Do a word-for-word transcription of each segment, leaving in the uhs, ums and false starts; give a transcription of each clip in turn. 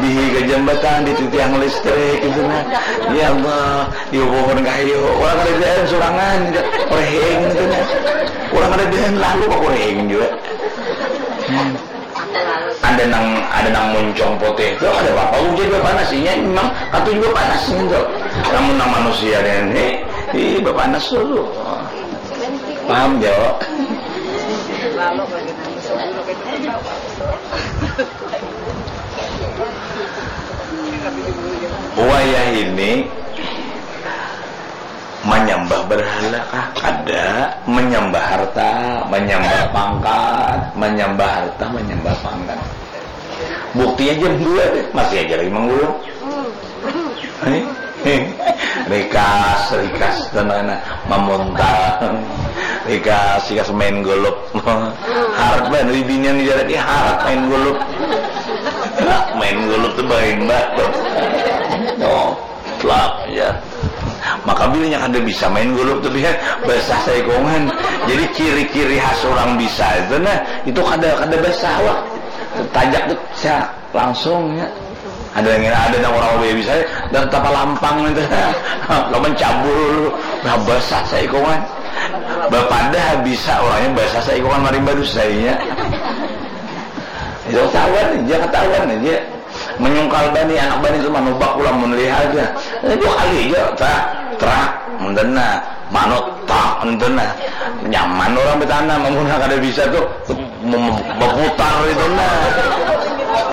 Di higa jambatan, di titiang listrik gitu nah. Ya Allah, di pohon kayu. Orang kada biaran surangan gitu. Reheng gitu nah. Orang kada biaran lalu kok reheng juga. Hmm. Ada nang, ada nang muncung putih tu, ada apa-apa ujar bapanas. Inya memang katuju bapanas gitu. Namun nang manusia ni, ih, bapanas dulu. Paham, Jo? Wayah ini manyambah berhala kah? Kada. Manyambah harta, manyambah pangkat, manyambah harta, manyambah pangkat. Buktinya jam dua deh, masih aja lagi manggulung. Hei, hei. Rikas, rikas, tenang, mamuntal. Rikas, rikas main golop. Harat banget, binian di jalan, ih, harat main golop. Harat main golop tu bain banget. Oh, telak, ya. Maka bilanya kada bisa main golop tu, ya, basah saikongan. Jadi ciri-ciri khas orang bisa itu, nah, itu kada, kada basah, wah. Tajak tu, sia, langsung, ya. Ada yang ada nang orang lebih bisa, dan tapa lampang itu. Lawan cabul, nah, basah saikongan. Bapadah bisa orangnya basah saikongan marimba dusanya. Ya, ketahuan aja, ketahuan aja. Menyungkal bani, anak bani tu manubak pulang mun lihat aja. Eh, dua kali aja, trak, trak, enten nah. Manut, tak, enten nah. Nyaman orang betanam, amun kada bisa tu, mem-, berputar itu nah.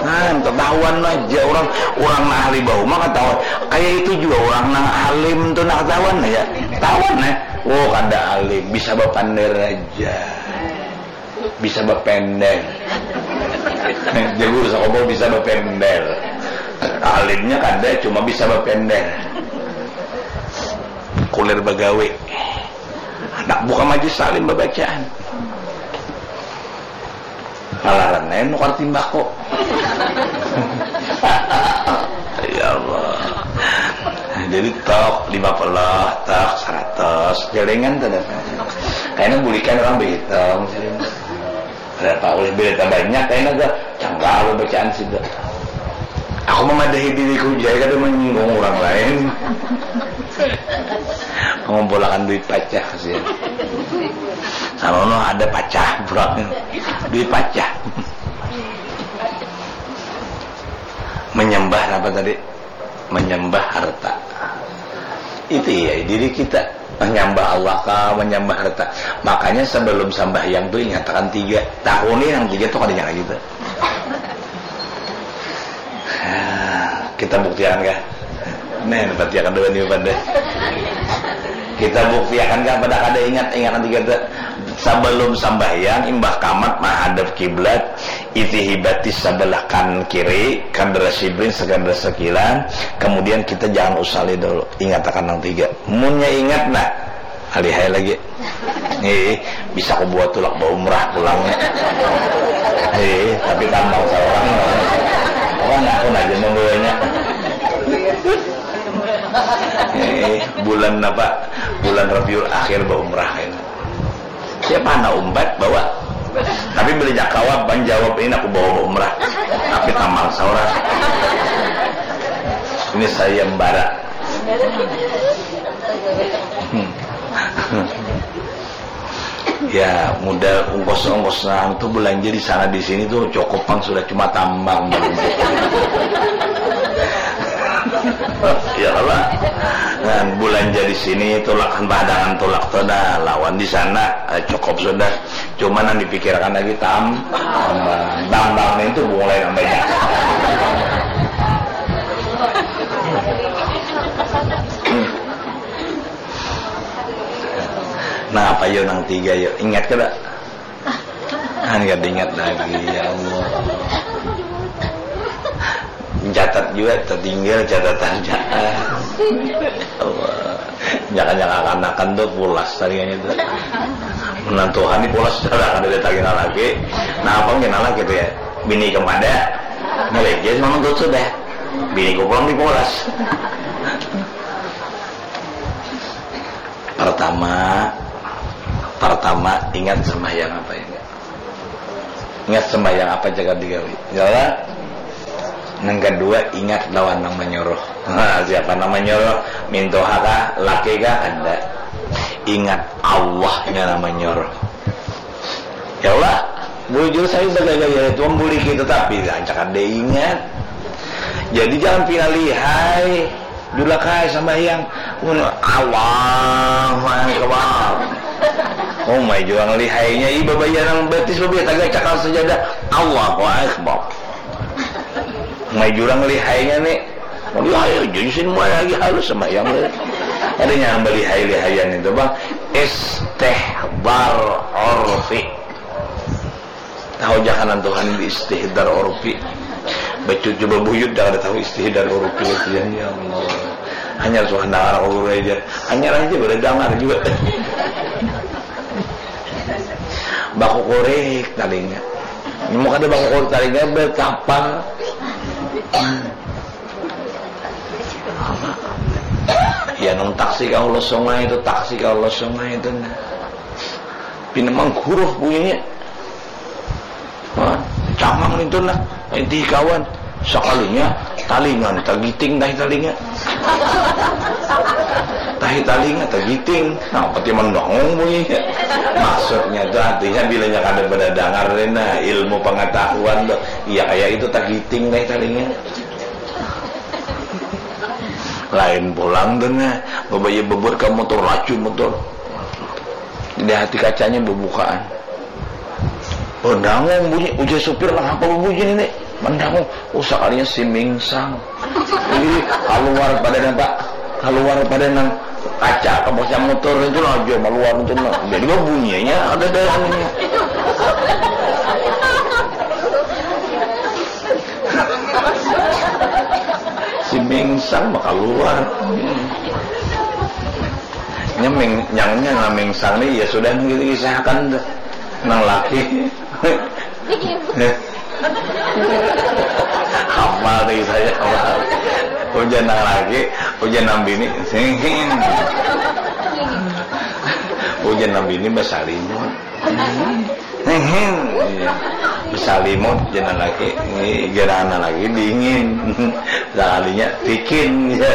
Nah, ketahuan aja orang, orang nang ahli bahuma ketahuan. Kayak itu juga orang nang alim tu nah ketahuan ya. Ketahuan ya. Oh, kada alim, bisa bapander aja. Bisa bapender. Jagur Sakopo bisa bapender. Alimnya kada, cuma bisa bapender. Kulir bagawe. Handak buka majlis taklim babacaan. Palaran ai nukar timbako. Ya Allah. Jadi tok lima puluh, tok seratus, jaringan tu dah. Kayaknya bulikan orang behitung. Berapa ulih berita banyak kayaknya gak cangkal bacaan sih gak. Aku memadahi diriku jadi kada menyinggung orang lain. Mengumpulakan duit pacah sih. Sanono ada pacah pulang. Duit pacah. Menyembah apa tadi? Menyembah harta. Itu ya diri kita. Menyembah Allah kah, menyembah harta. Makanya sebelum sambahyang tu ingatakan tiga. Takuni nang tiga tu kada nyala gitu. Kita buktiakan kah? Nih, buktiakan dulu nih, pandai. Kita buktiakan kah pada kada ingat, ingatan tiga tu. Sebelum sambahyang, imbah kamat mahadap kiblat, itihi batis sebelah kanan kiri, kadar sibrin, sekadar sekilan, kemudian kita jangan usali dulu, ingatakan nang tiga. Munnya ingat, nah, alihai lagi. Eh, bisa ku buat tulak baumrah pulang. Eh, tapi tambang seorang. Orang aku aja membawanya. Eh, bulan apa? Bulan Rabiul Akhir baumrah ini. Siapa anak umpat bawa? Tapi beli jakawa, menjawab ini aku bawa baumrah. Tapi tambang seorang. Ini sayembara. Hmm. Ya, modal ongkos-ongkos nang tu belanja di sana di sini tu cukup pang sudah cuma tambang. Ya Allah. Nah, belanja di sini tulakan padangan tulak tu dah lawan di sana, eh, cukup sudah. Cuma nang dipikirkan lagi tam tambang. Tambang itu mulai nambahnya. Nah, apa yo nang tiga yo? Ingat kada? Kan kada ingat lagi, ya Allah. Catat juga, tertinggal catatannya. Allah. Jangan-jangan akan-akan tuh pulas tadi itu. Menantu hani pulas sudah ada datangin lagi. Nah, apa mungkin lagi tuh ya? Bini kemada? Ngerejes memang tuh sudah. Bini ku pulang di pulas. Pertama, pertama ingat sembahyang apa ini? Ingat sembahyang apa jaga digawi? Jalan. Yang kedua, ingat lawan nang menyuruh. Nah, siapa nang menyuruh? Mintuha kah? Laki kah? Kada. Ingat Allahnya nang menyuruh. Ya Allah, bujur saya bagaya itu membuli kita, tapi rancak ada ingat. Jadi jangan pina lihai. Dulak ai sambahyang. Mun Allahu Akbar. Oh, mai jua lihainya, iba bayanang batis babia tagacakal sajadah. Allahu Akbar. Mai jurang lihainya ni. Lihai aja isin mulai lagi halus sambahyang ni. Ada yang beli hai-lihayan itu, Bang. Istihdar urfi. Tahu jakanan Tuhan di istihdar urfi. Bacut coba buyut dah kada tahu istihdar urfi. Ya Allah. Hanya Tuhan dengar urfi aja. Hanya aja boleh dengar juga. Bakukurik talinga. Mau kada bakukurik talinga, betapa. Ya, nang taksi ka hulu sungai itu, taksi ka hulu sungai itu, nah. Pina mangkuruh bunyinya. Wah, cangang itu, nah. Inti kawan. Sakalinya, talinga, tagiting, tahi talinga. Tahi talinga, tagiting. Nah, pati mandangung bunyinya. Maksudnya tu, artinya, bilanya kada pada dangar, nah, ilmu pengetahuan tu. Iya, kaya itu, tagiting, tahi talinga. Lain pulang tu, nah. Babaya babuat ka motor, laju motor. Di hati kacanya babukaan. Mandangung bunyi, ujar supir, "Nang apa bunyi ni?" Mandangung, oh, sakalinya si mingsang. Jadi, kaluar pada nang, Pak. Kaluar pada nang kaca, kaca motor itu lah, aja maluar itu lah. Jadi, bunyinya ada dalamnya. Si mingsang mah kaluar. Nya ming-, nyangnya nang mingsang ni, ya sudah, nang kita kisahkan tu. Nang laki. Hafal tu kisahnya, hafal. Ujar nang laki, ujar nang bini. Ujar nang bini basalimut. Hehe. Iya. Basalimut, jangan lagi. Ini jangan lagi dingin. Sakalinya bikin, ya.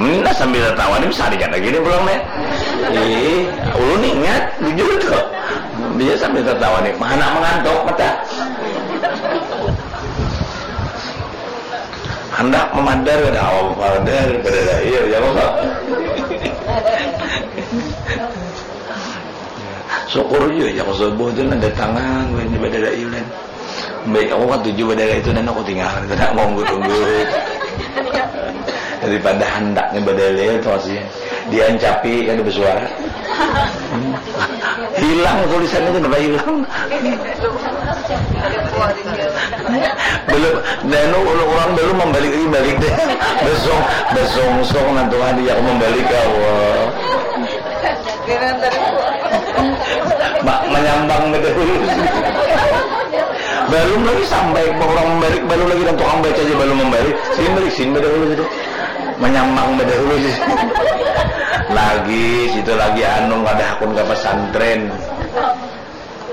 Nah, sambil tertawa ni, bisa dikata gini pulang nih. Ih, ulun ingat, bujur tuh. Dia sambil tertawa nih, mana mengantuk mata. Handak mamadar kada kawa mamadar, badadaiil, ya kalo. Syukur jua, ya, subuh tu nang datangan, wahini badadailan. Baik, aku katuju badadai tu, dan aku tinggal, kada mangunggut-unggut. Daripada handaknya badadai tu, maksudnya. Diancapi, kada basuara. Hmm. Hilang tulisannya, kenapa hilang? Belum, nah, nu, urang belum membalik lagi, balik deh. Besong, besong, song, nanti lagi aku membalik, ya Allah. Ma-, manyambang bedahulu. Balum lagi sampai urang membalik, balum lagi nang tukang baca aja balum membalik. Sini balik, sini bedahulu situ. Manyambang bedahulu situ. Lagi, situ lagi anu, kada hakun ka pesantren.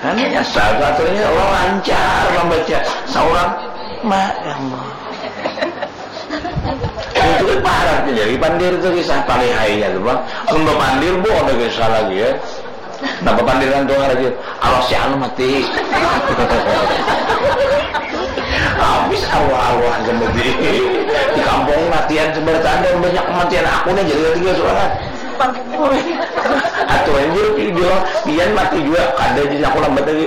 Anu nyasar, akhirnya orang lancar membaca. Saurang, ma, ya Allah. Itu kan parat nih, jadi pandir tuh kisah palihainya tuh, Bang. Mun bapandir, bu, ada kisah lagi ya. Nah, bapandiran tuh lagi, awas ya, anu mati. Habis arwah-arwah seperti di kampung matian sebertanda banyak kematian aku nih jadi tiga surat. Aturan dia, dia, pian mati juga, kada jadi aku lambat lagi.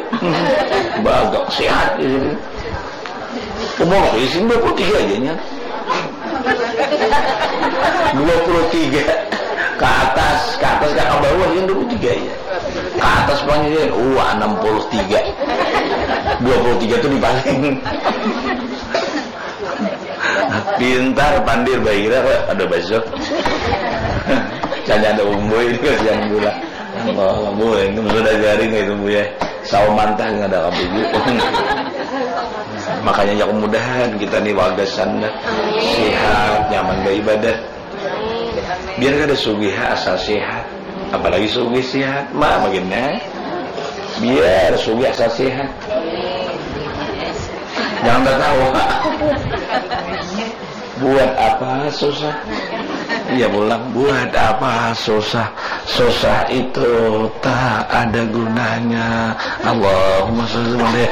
Bagak sehat di sini. Umur aku isin dua puluh tiga aja nya. Dua puluh tiga. Ke atas, ke atas, ke bawah, isin dua puluh tiga aja. Ke atas panjang, uh, enam puluh tiga. Dua puluh tiga tuh di paling. Pintar, pandir, bahira kok ada baso. Canya ada umboy ini kasihan gula. Allah, bu, ini sudah garing itu, Bu, ya. Sawa mantah nggak ada kabuju. Makanya ya, mudahan kita nih wagasan dah. Sehat, nyaman beribadat. Biar kada sugih, asal sehat. Apalagi sugih sehat, mah, bagiannya. Biar sugih asal sihat. Jangan tertawa. Buat apa susah? Iya pulang. Buat apa susah? Susah itu tak ada gunanya. Allahumma sholli wa sallim.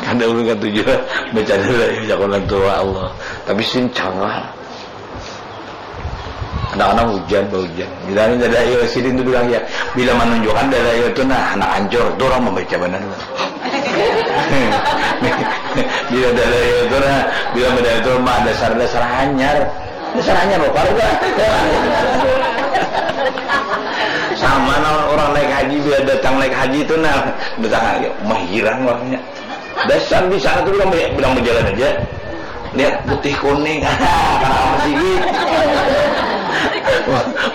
Kada ulun katuju baca dulu ya, jagoan tua Allah. Tapi sin canggah. Kadang-kadang hujan, hujan. Bila ada dalail sidin tu bilang ya, bila menunjukkan dalail tu nah, anak hancur tu orang membaca benar. Bila dalail tu nah, bila dalail tu mah dasar-dasar hanyar. Dasar hanyar lo, parah. Sama nah orang naik haji, bila datang naik haji tu nah, datang haji, mah hirang orangnya. Dasar di sana tu bilang, bilang berjalan aja. Lihat putih kuning, masih gitu.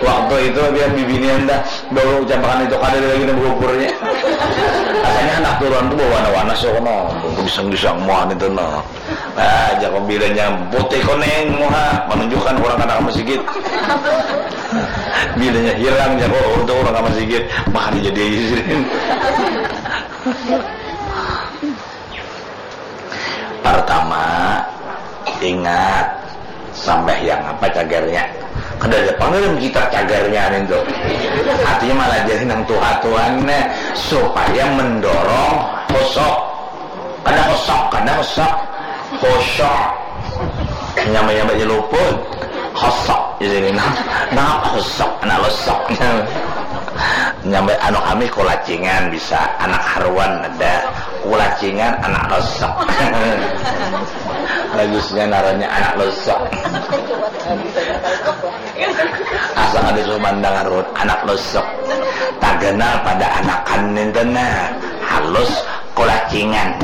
Waktu itu dia bibinian dah, baru ucapakan itu kada ada lagi nang berupurnya. Rasanya anak turun tu bawa warna-warna so kono, gisang-gisang muan itu no. Ah, jago bilanya putih kuning muha, menunjukkan orang kada ke masjid. Bilanya hirang jago untuk orang ke masjid, mah dijadi aja sini. Pertama, ingat sampai yang apa cagarnya. Kada ada pang dalam kitab cagarnya nintu. Artinya malah jadi nang tuha tuan supaya mendorong hosok. Kada hosok, kada hosok. Hosok. Nyambai-nyambai luput. Hosok di sini nah. Nah, hosok, anak losok. Nyambai anu kami kulacingan bisa, anak haruan ada. Kulacingan anak losok. Bagusnya ngarannya anak losok. Asa kada suah mandang ruhut, anak losok. Taganal pada anakan ninten nah. Halus, kulacingan.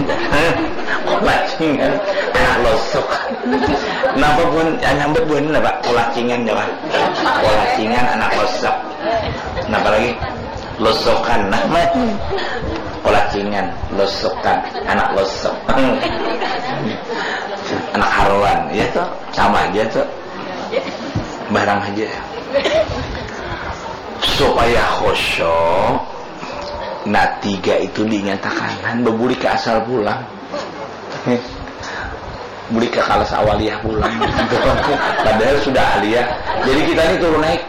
Kulacingan, anak losok. Napa pun, nyambat buhan napa? Kulacingan, napa? Kulacingan, anak losok. Napa lagi? Losokan, nah, mah. Kulacingan, losokan, anak losok. Anak haruan, ya toh? Sama aja toh. Barang aja. Supaya khusyuk, nah, tiga itu dinyatakan. Han, baburi ke asal pulang. Buli ka kalas awaliyah pulang. Padahal sudah aliyah. Jadi kita ni turun naik.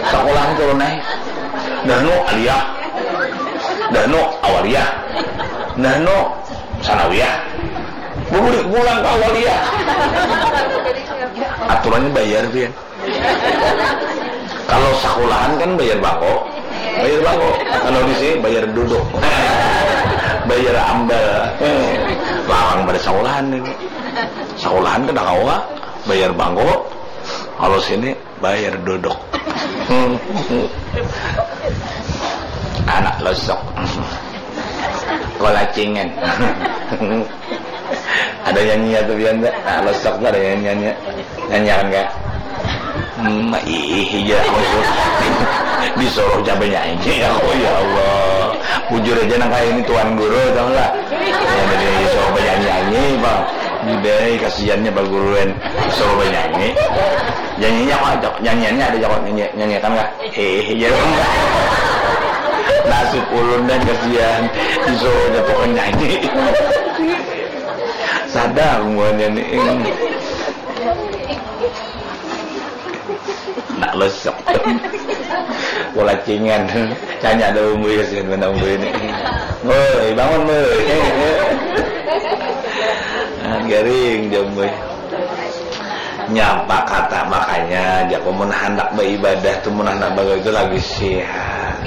Sakolah ni turun naik. Dah nu aliyah. Dah nu awaliyah. Dah nu sanawiyah. Buli pulang ka awaliyah. Aturannya bayar, pian. Kalau sakulahan kan bayar bangko, bayar bangko. Kalau di sini bayar duduk, bayar ambal. Larang pada sakulahan ini. Sakulahan kada kawa bayar bangko. Kalau sini bayar duduk. Anak losok. Kolacingan. Ada nyanyi atau pian, Kak? Nah, losok tu ada nyanyi, nyanyi. Nyanyiakan, Kak. Hmm, ih, iya, aku suruh. Disuruh coba nyanyi, aku, ya Allah. Bujur aja nang kayak ini Tuan Guru, tau nggak? Ya, jadi disuruh bernyanyi, Bang. Budai, kasihannya Pak Guruan. Disuruh bernyanyi. Nyanyinya apa, Cok? Nyanyiannya ada, Cok? Nyanyi, nyanyiakan, Kak? Eh, iya. Nasib ulun dan kasihan. Disuruh aja pokoknya nyanyi. Sadar muanya nih. Nak losok. Bola cingan. Tanya ada umui kasihan mana umui ini. Woi, bangun, woi. Ah, garing dia, umui. Nyapa kata, makanya jaku mun handak beribadah tu, mun handak bagawi tu lagi sihat.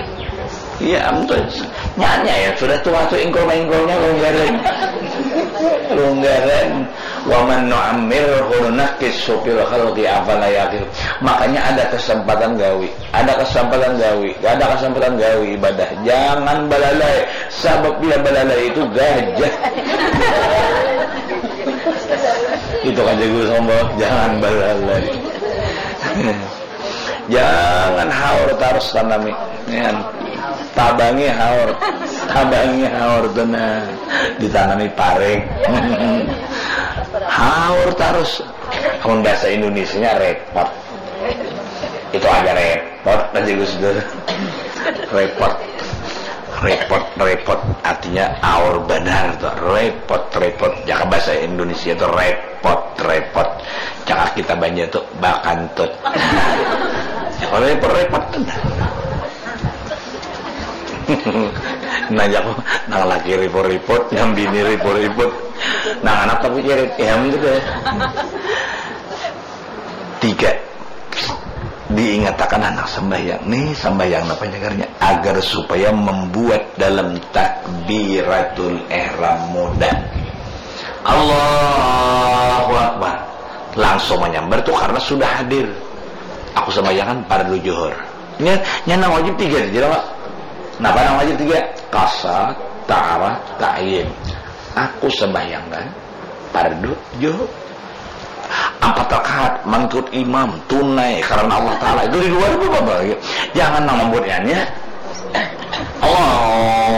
Iya, am tu nyanyi ya, sudah tua tu ingkul-ingkulnya lunggaran. Lunggaran. Wa man nu'ammirhu nunakkishu fil khalqi afala yaqil. Makanya ada kesempatan gawi. Ada kesempatan gawi, ada kesempatan gawi ibadah. Jangan balalai, sabab bila balalai itu gajah. Itu kan jago sombong, jangan balalai. Jangan haur tarus tanami. Ya. Tabangi haur, tabangi haur tu nah, ditanami paring. Haur tarus. Kalau bahasa Indonesianya repot. Itu aja repot. Repot aja Gus Dur. Repot. Repot, repot. Artinya aur banar tuh. Repot, repot. Jaka bahasa Indonesia tuh repot, repot. Jaka kita Banjar tuh bakantut. Repot, repot tuh. Nah, jaku nang laki riput-riput, nang bini riput-riput, nang anak tapi kirit, ya, gitu deh. Tiga, diingatakan anak sambahyang. Nih, sambahyang apa jagarnya? Agar supaya membuat dalam takbiratul ihram mudah. Allahu Akbar. Langsung menyambar tuh karena sudah hadir. Aku sembahyangan fardu juhur. Nya, nya nang wajib tiga aja, Pak. Napa nang wajib tiga? Kasat, ta'arah, ta'yin. Aku sembahyangan fardu juhur. Empat rakaat mengikut imam, tunai karena Allah Ta'ala. Itu di luar itu apa? Jangan nang membuatnya. Allah.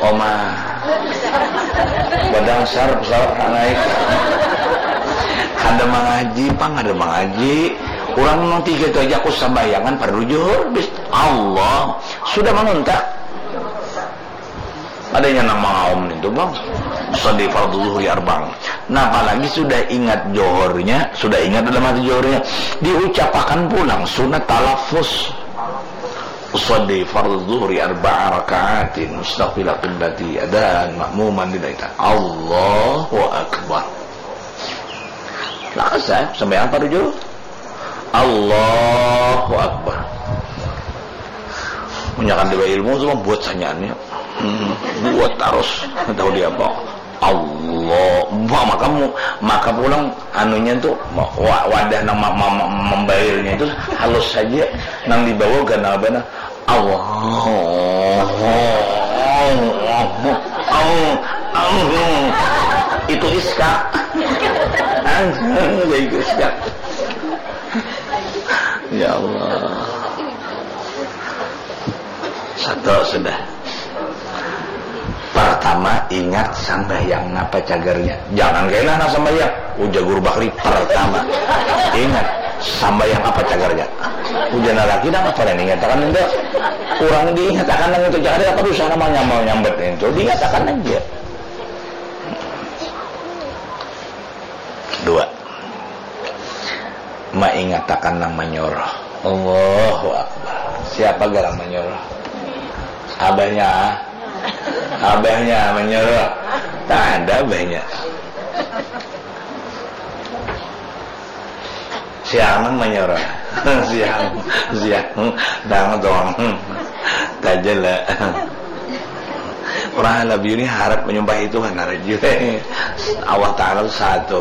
Oma. Badangsar pesawat nak naik. Kada mangaji, pang kada mangaji. Urang nang tiga itu aja aku sambahyangan fardu juhur, bis Allah sudah manuntak. Adanya nang mangaum itu, Bang. Usalli fardhu zuhri arba'an. Nah, apalagi sudah ingat johornya, sudah ingat dalam hati johornya, diucapakan pulang sunat talafus. Usalli fardhu zuhri arba'a raka'atin mustaqbila qiblati adan ma'muman lillahi ta'ala. Allahu Akbar. Lakasa, sampai apa tujuh? Allahu Akbar. Munyakan dua ilmu tu buat sanyaannya. Hmm, buat terus. Tahu dia apa? Allah. Maka mu, maka pulang anunya tu wa-, wadah nang ma-, ma-, ma-, membayarnya itu halus saja. Nang dibawa ganal benar. Allah. Allah. Allah. Itu iska. Itu iska. Ya Allah. Satu sudah. Pertama, ingat sambahyang napa cagarnya. Jangan kena nak sambahyang. Ujar guru bakri pertama. Ingat, sambahyang apa cagarnya. Ujar lagi nang apa nih, ingat akan itu. Kurang diingat akan nang itu. Jangan ada apa usaha nama nyambal nyambat itu. Diingat akan aja. Dua. Maingatakan nang manyuruh. Allahu Akbar. Siapa garang manyuruh? Abahnya. Abahnya manyuruh. Tak ada abahnya. Siang nang manyuruh. Siang, siang. Nang tuang. Taja lah. Orang Halabiu ni harap menyembah itu kan, harap juga. Allah Ta'ala tu satu.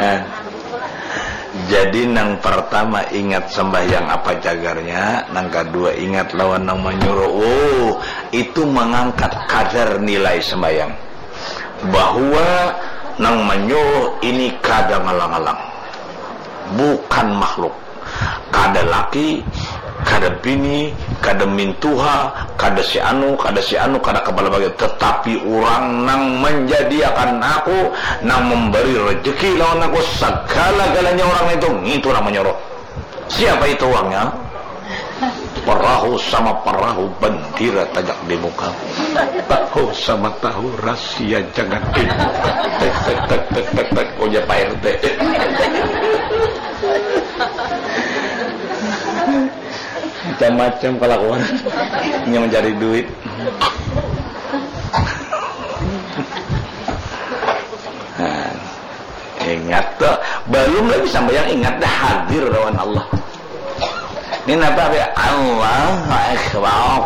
Eh. Jadi nang pertama ingat sembahyang apa cagarnya, nang kedua ingat lawan nang menyuruh. Oh, itu mengangkat kadar nilai sembahyang. Bahwa nang menyuruh ini kada ngalang-alang. Bukan makhluk. Kada laki, kada bini, kada mintuha, kada si anu, kada si anu, kada kepala bagian, tetapi urang nang manjadiakan aku, nang memberi rejeki lawan aku, sagala-galanya urang itu, ngitu nang manyuruh. Siapa itu urangnya? Perahu sama perahu, bandira tajak di muka. Tahu sama tahu, rahasia jangan dibuka. Tek, tek, tek, tek, tek, tek, ujar Pak R T. Macam-macam kelakuan yang mencari duit. Nah, ingat tuh, belum lagi sampai yang ingat dah hadir lawan Allah. Ini napa ya? Allahu Akbar.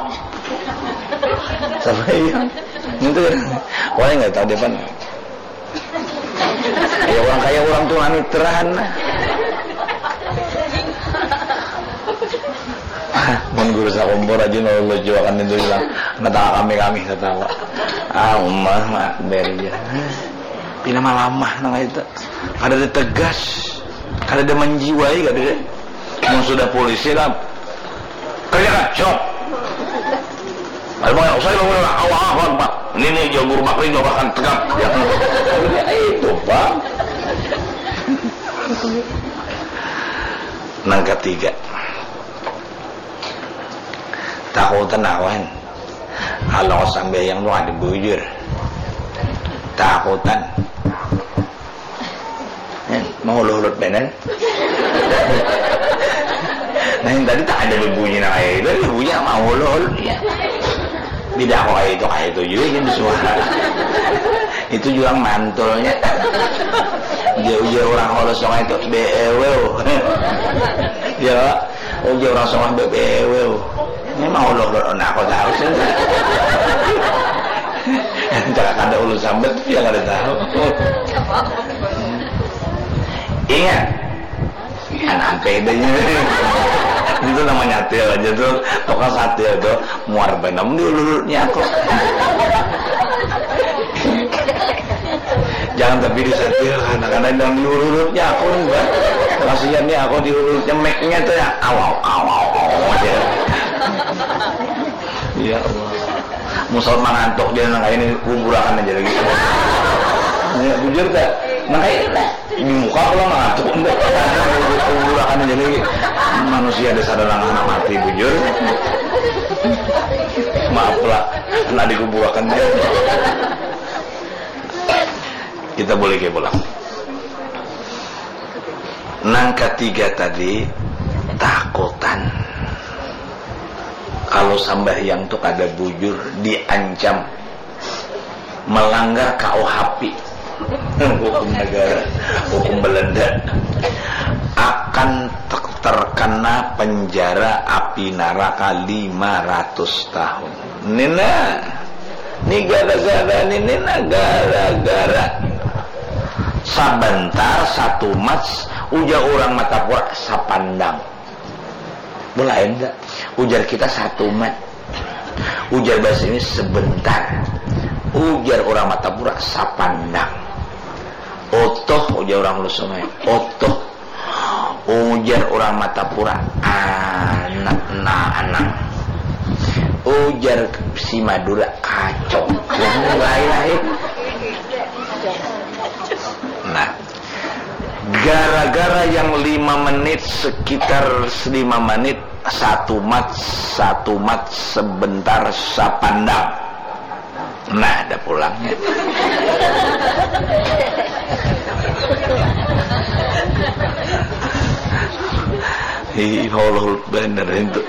Sampai yang itu ya. Wah, nggak tahu dia pan. Ya, orang kaya orang tua ni terahan lah. Mun guru sakumpul rajin Allah juakan itu bilang, ngetang kami-kami ketawa. Ah, Umar mah beri ya. Pina malamah nang itu. Kada ada tegas, kada ada menjiwai, kada ada. Mun sudah polisi lah, kerja kacau. Ayo, Bang, usai, Bang, udah, awak, awak, Bang. Ini nih, Jawa Guru Bakri, Jawa Bahkan, tegap. Ya, itu, Bang. Nang katiga, takutan aku, kan. Kalau sambil yang tuh ada bujur. Takutan. Eh, mau lulut benen. Nah, yang tadi tak ada bebunyi nang kayak itu, bebunyi mau lulut, ya. Beda kok, itu kayak itu juga, jadi suara. Itu juga mantulnya. Dia ujar orang kalau sungai itu, "Beeweu." Ya, ujar orang sungai, "Beeweu." Ini mau lulut, nah, aku tahu sih. Jangan ada ulun sambat, dia kada tahu. Ingat, kan sampai idenya. Itu namanya atil aja tuh, tukang satil tuh, muar benam di ulutnya aku. Jangan tapi disatil, karena, karena yang di ulutnya aku nih, Mbak. Kasihan nih aku di ulutnya, mic-nya tuh ya, awau, awau, awau aja. Ya Allah. Musal mangantuk dia nang kayak ini, kuburakan aja lagi. Ya, bujur tak? Nang kayak ini lah. Di muka pula mangantuk. Kuburakan aja lagi. Manusia ada sadar nang anak mati, bujur. Maaf lah, nak dikuburakan dia. Kita boleh ke pulang. Nang katiga tadi, takutan. Kalau sambahyang tu kada bujur, diancam melanggar K U H P, hukum negara, hukum Belanda, akan ter-, terkena penjara api neraka lima ratus tahun. Nina, ni gara-gara ni, Nina, gara-gara sabantar satu mats, ujar orang Martapura, sapandang. Belain tak? Ujar kita satu mat. Ujar bahasa ini sebentar. Ujar orang Martapura sapandang. Otoh, ujar orang Hulu Sungai. Otoh. Ujar orang Martapura, anak na anang. Ujar si Madura, kacau. Yang lain-lain. Nah, gara-gara yang lima menit, sekitar lima menit, satu mat, satu mat sebentar sapandang. Nah, ada pulangnya. Ih, Allah, bener itu.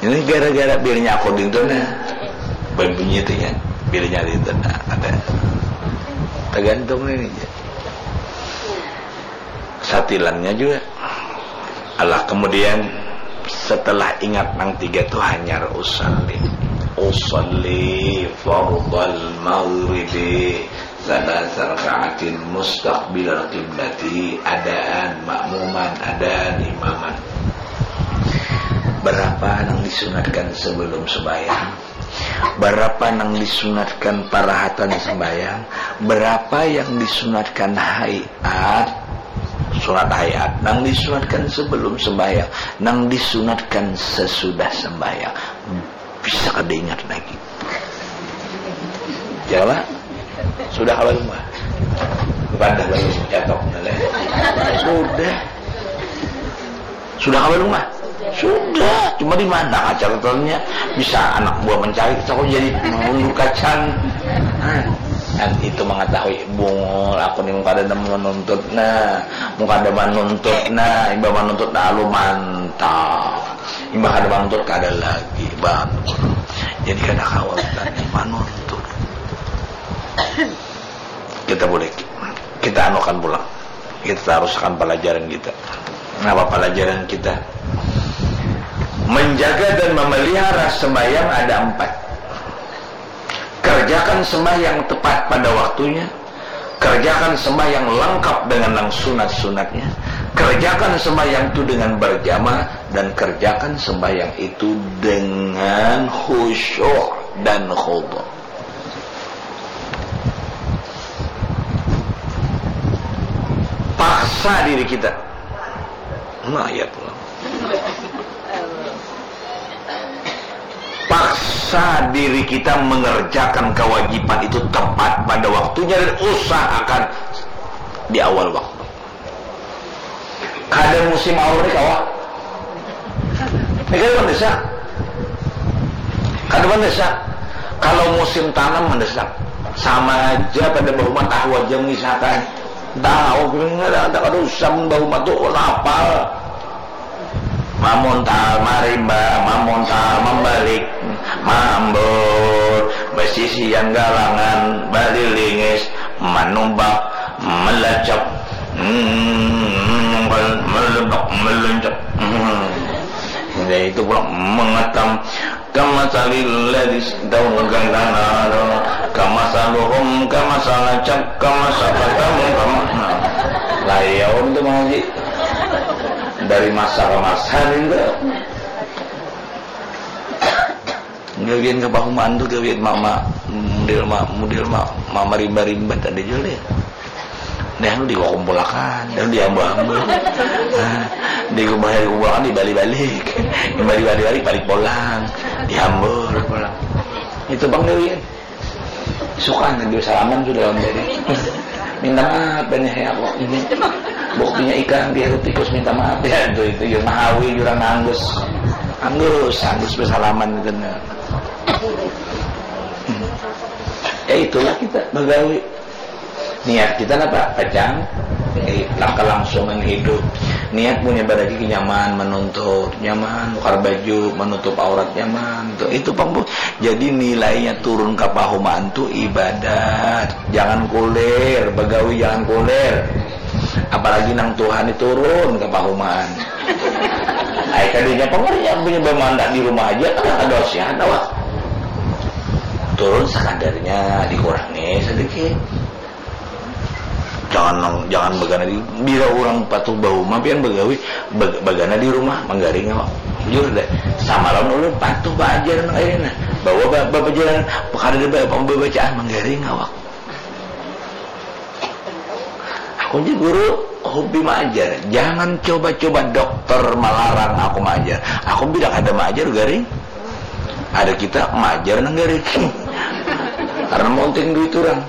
Ini gara-gara bilnya aku dintu, nah. Bunyi itu ya, bilnya dintu, nah, ada. Tergantung ini aja. Satilannya juga. Alah, kemudian setelah ingat nang tiga tu hanyar usalli. Usalli fardal maghribi salasa rakaatin mustaqbilal qiblati, adaan makmuman, adaan imaman. Berapa nang disunatkan sebelum sembahyang? Berapa nang disunatkan parahatan sembahyang? Berapa yang disunatkan hayat? Sunat hayat. Nang disunatkan sebelum sembahyang, nang disunatkan sesudah sembahyang. Bisa kada ingat lagi. Jawab. Sudah kawa rumah? Bukan dah, baru catok, nah, leh. Sudah. Sudah kawa rumah? Sudah. Cuma di mana catatannya? Bisa anak buah mencari, aku jadi mengundur kacang. Nah, dan itu mengetahui bungul, aku ni muka ada menuntut, nah, muka ada menuntut, nah, imbah menuntut, nah, lu mantap. Imbah kada mantur, kada lagi bangun. Jadi kada kawa kita ni manuntur. Kita boleh, kita anukan pulang. Kita tarusakan pelajaran kita. Apa pelajaran kita? Menjaga dan memelihara sembahyang ada empat. Kerjakan sembahyang tepat pada waktunya. Kerjakan sembahyang lengkap dengan nang sunat-sunatnya. Kerjakan sembahyang itu dengan berjamaah, dan kerjakan sembahyang itu dengan khusyuk dan khudu. Paksa diri kita. Nah, ya Tuhan. Usaha diri kita mengerjakan kewajiban itu tepat pada waktunya dan usahakan di awal waktu. Kada musim aur ni kawa. Ini kada mendesak. Kada mendesak. Kalau musim tanam mendesak. Sama aja pada bahuma tahu aja mengisahkan. Tahu, kada, kada usah bahuma tu lapal. Mamuntal, marimba, mamuntal, mambalik, mambur, basisian galangan, balilingis, manumpak, malacak, hmm, malebak, maluncak. Hmm. Ya, itu pula mengetam. Kamasalil ladzi daun gandana, kamasaluhum, kamasalacak, kamasakatam, kama-, nah. Layau itu mengaji. Dari masa ke masa nih, enggak. Gawian kepahumaan tu gawian mama, mudil ma-, mudil ma-, mama rimba-rimba tadi jua deh. Dah lu dikumpulakan, dah lu diambil-ambil. Nah, dikumpul-, dikumpulakan, dibalik-balik. Dibalik-balik, balik pulang. Diambil pulang. Itu bang gawian. Suka nanti salaman sudah lawan tadi. Minta maaf banyak ya kok. Ini buktinya ikan biar tikus minta maaf ya itu, itu ya mahawi jurang anggus. Anggus, anggus bersalaman itu. Nah. Hmm. Ya itulah kita bagawi. Niat kita napa? Pacang. Eh, kelangsungan hidup. Niat punya baragi nyaman menuntut, nyaman nukar baju, menutup aurat nyaman. Tuh, itu pang, Bu. Jadi nilainya turun ke pahumaan tuh ibadat. Jangan kulir, bagawi jangan kulir. Apalagi nang Tuhan itu turun ke pahumaan. Ai kadanya pang, yang punya bamanda di rumah aja kan ada sihat awak. Turun sakadarnya, dikurangi sedikit. Jangan nang, jangan bagana di, bila orang patuh bahuma pian bagawi, bag-, bagana di rumah manggaring awak. Jujur deh, sama lawan ulun patuh baajar nang ayeuna. Bawa ba-, bapajalan, kada ada ba-, pembacaan manggaring awak. Aku ni guru hobi maajar. Jangan coba-coba dokter melarang aku maajar. Aku bila kada maajar garing. Ada kita maajar nang garing. Karena monting duit orang.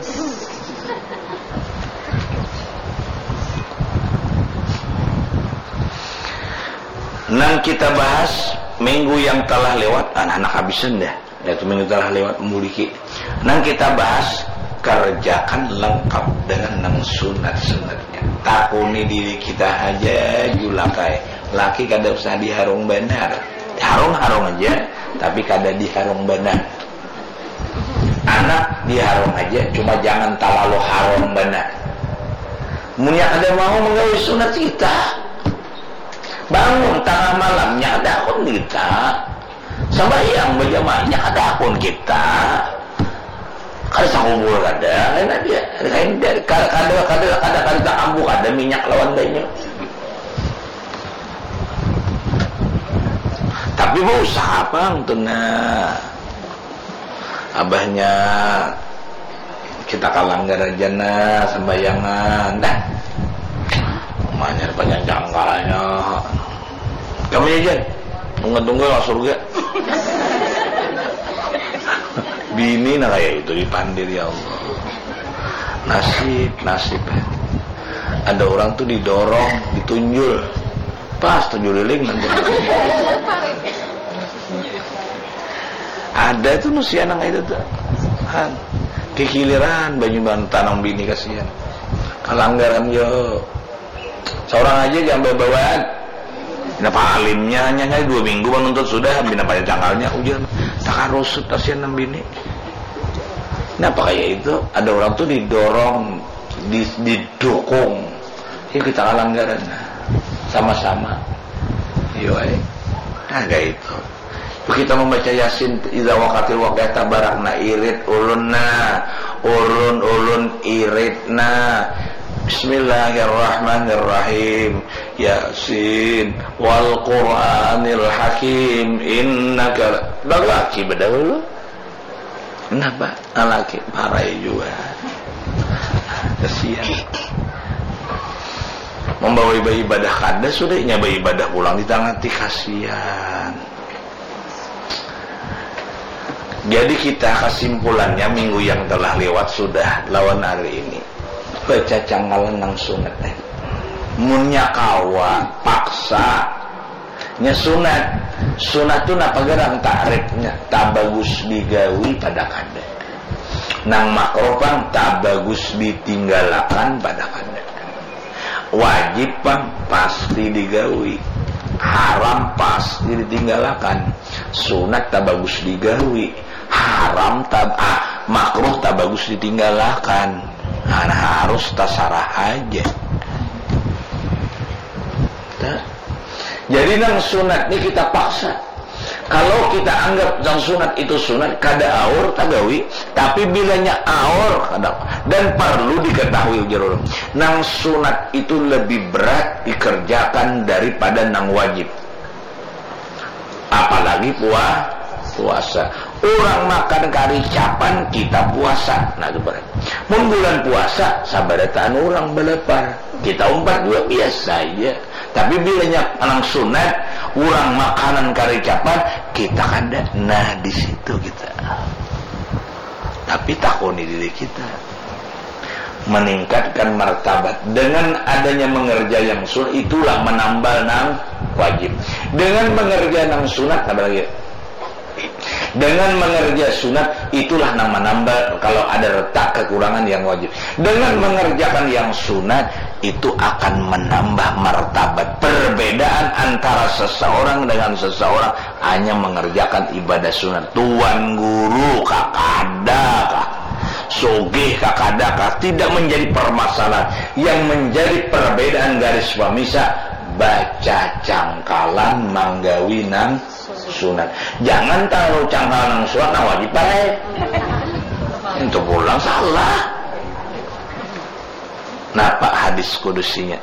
Nang kita bahas minggu yang telah lewat, anak-anak habisan dah. Yaitu minggu telah lewat muliki. Nang kita bahas, kerjakan lengkap dengan nang sunat-sunatnya. Takuni diri kita aja julakai. Laki kada usah diharung banar. Harung-harung aja, tapi kada diharung banar. Anak diharung aja, cuma jangan talalu harung banar. Munnya kada mau menggawi sunat kita, bangun tengah malamnya kada akun kita. Sambahyang bajamaahnya kada akun kita. Kada sakubur kada, lain aja. Lain dari kada, kada, kada, kada, kada takambu kada minyak lawan banyu. Tapi bausaha pang tu nah. Abahnya kita kalanggar aja nah, sambayangan. Dah. Umanya ada panjang jangkalnya. Kami aja. Tunggu-tunggu lah surga. Bini nah kayak itu dipandir, ya Allah. Nasib, nasib. Ada orang tuh didorong, ditunjul. Pas tunjul liling nanti. Ada tuh nusian nang itu tuh. Han. Kikiliran banyu bantan nang bini kasihan. Kalanggaran yo. Seorang aja jangan bawaan. Kenapa alimnya hanya, hanya dua minggu menuntut sudah, bina pada tanggalnya ujian. Takarusut kasihan nang bini. Kenapa kayak itu? Ada orang tuh didorong, di-, didukung. Yuk kita kalanggaran. Sama-sama. Yo, eh. Nah, kayak itu. Kita membaca Yasin, idza waqatil waqiah, tabarak na irit ulun na, ulun, ulun irit na. Bismillahirrahmanirrahim. Yasin wal Qur'anil Hakim, innaka, lagi bedahulu. Kenapa? Lagi parai juga. Kasihan. Membawa ibadah kada sudah, nya beribadah pulang di tangah ti, kasihan. Jadi kita kesimpulannya minggu yang telah lewat sudah lawan hari ini. Baca cangkalan nang sunat eh. Munnya kawa paksa nya sunat. Sunat tu napa garang takrifnya? Tabagus digawi pada kada. Nang makruh pang tabagus ditinggalakan pada kada. Wajib pang pasti digawi. Haram pasti ditinggalakan. Sunat tabagus digawi. Haram tab ah, makruh tabagus ditinggalakan. Nah, harus tasarah aja. Nah, jadi nang sunat ni kita paksa. Kalau kita anggap nang sunat itu sunat, kada aur tagawi, tapi bilanya aur kada, dan perlu diketahui ujar ulun, nang sunat itu lebih berat dikerjakan daripada nang wajib. Apalagi pua puasa. Orang makan karicapan, kita puasa. Nah, itu berat. Mun bulan puasa, sabarataan orang balapar. Kita umpat juga biasa aja. Tapi bilanya nang sunat, orang makanan karicapan, kita kada. Nah, di situ kita. Tapi takuni diri kita. Meningkatkan martabat. Dengan adanya mengerja yang sunat, itulah menambal nang wajib. Dengan mengerja nang sunat, apa lagi? Dengan mengerja sunat, itulah nang menambal kalau ada retak kekurangan yang wajib. Dengan mengerjakan yang sunat, itu akan menambah martabat. Perbedaan antara seseorang dengan seseorang hanya mengerjakan ibadah sunat. Tuan guru kakada kah, sugih kakada kah, tidak menjadi permasalahan. Yang menjadi perbedaan garis pemisah, baca cangkalan manggawi nang sunat. Jangan tahu cangkalan nang sunat, nang wajib baik. Itu pulang salah. Napa hadis kudusinya?